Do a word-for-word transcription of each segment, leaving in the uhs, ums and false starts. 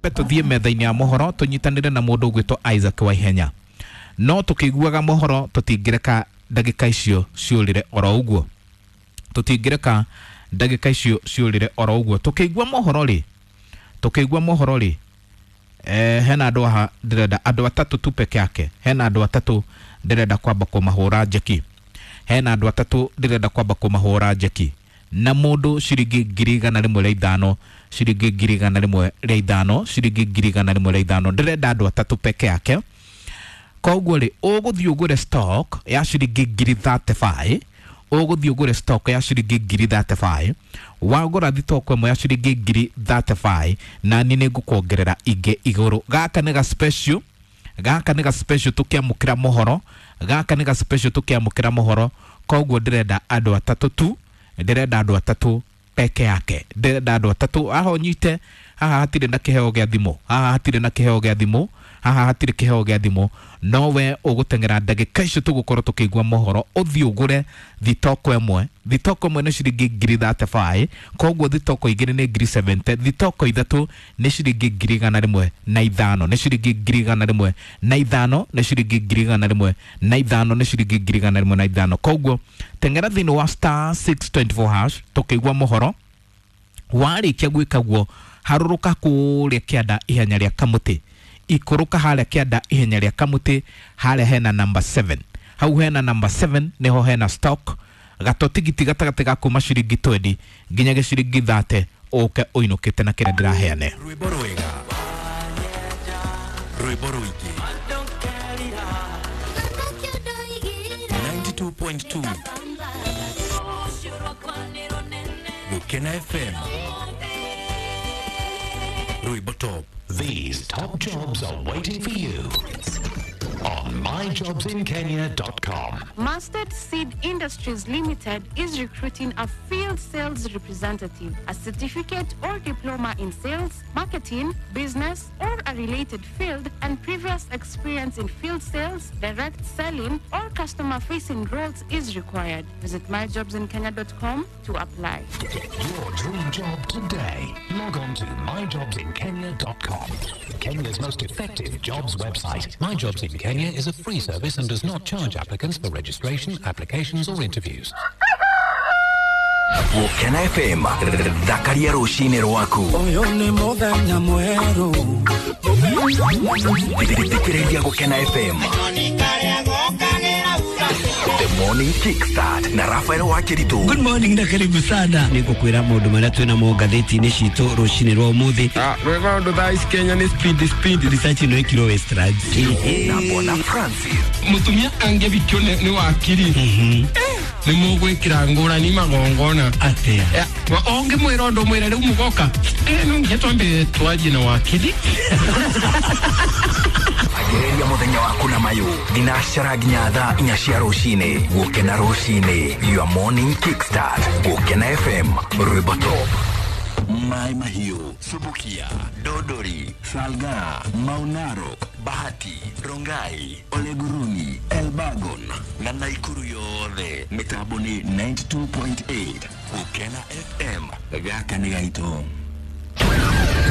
Tuthie metha-inĩ ya mohoro tũnyitanĩre na mũndũ ũgwĩtwo Isaac Waihenya, no tũkĩiguaga mohoro tũtingĩreka ndagĩka icio ciũrĩre oro ũguo, tũtingĩreka ndagĩka icio ciũrĩre oro ũguo. Tũkĩigua mohoro rĩ, tũkĩigua mohoro rĩ, eh, hena andũ aha ndĩrenda andũ atatũ tu peke yake, hena andũ atatũ ndĩrenda kwamba kũmahũra njeki, hena andũ atatũ ndĩrenda kwamba kũmahũra njeki na mũndũ ciringi ngiri igana rĩmwe rĩa ithano, ciringi ngiri igana rĩmwe rĩa ithano, ciringi ngiri igana rĩmwe rĩa ithano. Ndĩrenda andũ atatũ peke yake. Koguo rĩ, ũgũthiĩ ũgũre stock ya ciringi ngiri mĩrongo ĩtatũ na ithano, ũgũthiĩ ũgũre stock ya ciringi ngiri mĩrongo ĩtatũ na ithano. Wagũra thitoko ĩmwe ya ciringi ngiri mĩrongo ĩtatũ na ithano, na niĩ nĩngũkuongerera ingĩ igũrũ. Gaka nĩ ga special, gaka nĩ ga special tũkĩamũkĩra mohoro, gaka nĩ ga special tũkĩamũkĩra mohoro. Koguo ndĩrenda andũ atatũ tu, ndĩrenda andũ atatũ peke yake, ndĩrenda andũ atatũ. Haha ũnyite haha hatirĩ na kĩheo gĩa thimũ, haha hatirĩ na kĩheo gĩa thimũ, haha hatirĩ kĩheo gĩa thimũ, no we ũgũteng'era ndagĩka icio tũgũkorwo tũkĩigua mohoro, ũthiĩ ũgũre thitoko ĩmwe. Thitoko ĩmwe nĩ ciringi ngiri mĩrongo ĩtatũ na ithano, koguo thitoko igĩrĩ nĩ ngiri mĩrongo mũgwanja, thitoko ithatũ nĩ ciringi ngiri igana rĩmwe na ithano, nĩ ciringi ngiri igana rĩmwe na ithano, nĩ ciringi ngiri igana rĩmwe na ithano, nĩ ciringi ngiri igana rĩmwe na ithano. Koguo teng'era thĩinĩ wa star six two four hash tũkĩigua mohoro. Warĩkia gwĩka guo, harũrũka kũrĩa kĩanda ihenya rĩa kamũtĩ, ikũrũka harĩa kĩanda ihenya rĩa kamũtĩ, harĩa hena number seven, hau hena number seven niho hena stock gatotigiti gatagatĩ ga kuma ciringi mĩrongo ĩĩrĩ nginya ciringi mĩrongo ĩtatũ, ũke ũinũkĩte na kĩrĩa ndĩraheane. Rwĩmbo rwega, rwĩmbo rũingĩ, ninety-two point two Gukena F M, rwĩmbo top. These top jobs are waiting for you on my jobs in kenya dot com. Mustard Seed Industries Limited is recruiting a field sales representative, a certificate or diploma in sales, marketing, business, or a related field, and previous experience in field sales, direct selling, or customer facing roles is required. Visit my jobs in kenya dot com to apply. Get your dream job today. Log on to my jobs in kenya dot com. Kenya's most effective jobs website. My Jobs in Kenya is a free service and does not charge applicants for registration, applications, or interviews. Gukena F M, thakaria rũcinĩ rwaku. Ũyũ nĩ mũthenya mwerũ. Thikĩrĩria Gukena F M, The Morning Kickstart na Rafael Wakiritu. Good morning na karibu sana. Nĩngũkwĩra maũndũ marĩa twĩ namo ngathĩti-inĩ citũ rũcinĩ rwa ũmũthĩ. Rwĩga ũndũ thaa ici Kenya nĩ speed speed. Research ĩno ĩkirwo Westlands. Na Bwana Francis. Mũtumia angĩbikio nĩ nĩ wakiri nĩ mũgwĩkĩra ngũrani magongona. Atĩa? Eh, wa- ũngĩmwĩra ũndũ mwĩre rĩu mũgoka, Eh, no nginya twambe twarie na wakiri. Ambĩrĩria mũthenya waku na mayũ thinacara nginya thaa inya cia rũcinĩ. Gũkena rũcinĩ, your morning kickstart. Gũkena F M, rwĩmbo top. Mai Mahiu, Subukia, Dodori, Salga, Maunaro, Bahati, Rongai, Oleguruni, Elbagon na Naikuru yothe mĩtambo nĩ ninety-two point eight Gũkena F M. Gaka nĩ gaitũ.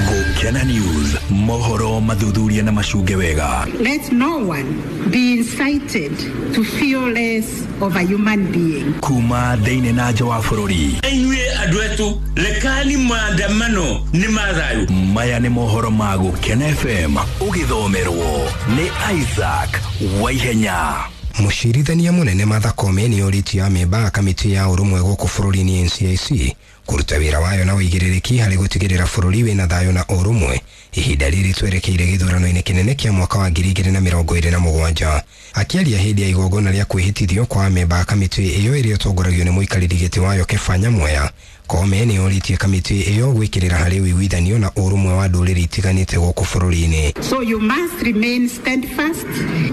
Gũkena News, mohoro mathuthuria na macunge wega. Let no one be incited to feel less of a human being. Kuma thĩinĩ na nja wa bũrũri. Inyuĩ andũ etu, rekani maandamano nĩ mathayu. Maya nĩ mohoro ma Gũkena F M, ũgĩthomerwo nĩ Isaac Waihenya. Mũcirithania mũnene Martha Koome nĩ orĩtie amemba a kamĩtĩ ya ũrũmwe gũkũ bũrũri-inĩ N C I C kũruta wĩra wayo na ũigĩrĩrĩki harĩ gũtigĩrĩra bũrũri wĩna thayũ na ũrũmwe ihinda rĩrĩ twerekeire gĩthurano-inĩ kĩnene kĩa mwaka wa ngiri igĩrĩ na mĩrongo ĩrĩ na mũgwanja. Akĩaria hĩndĩ ya igongona rĩa kwĩhĩtithio kwa amemba a kamĩtĩ ĩyo ĩrĩa ĩtongoragio nĩ mũikarĩri gĩtĩ wayo Keba Nyamweya, Koome nĩ orĩtie kamĩtĩ ĩyo gwĩkĩrĩra harĩ ũiguithanio na ũrũmwe wa ndũrĩrĩ itiganĩte gũkũ bũrũri-inĩ. So you must remain steadfast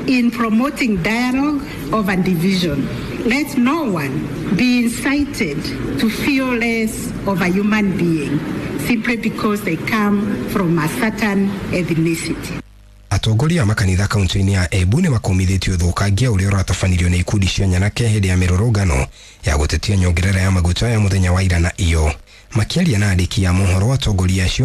in promoting dialogue over division. Let no one be incited to feel less of a human being simply because they come from a certain ethnicity. Atongoria a makanitha kaunti-inĩ ya Embu nĩ makomithĩtie ũthũkangia ũrĩa ũratabanirio nĩ ikundi cia nyanake hĩndĩ ya mĩrũrũngano ya gũtetia nyongerera ya maguta ya mũthenya wa ira na iyo. Makĩaria na andĩki a mohoro, atongoria acio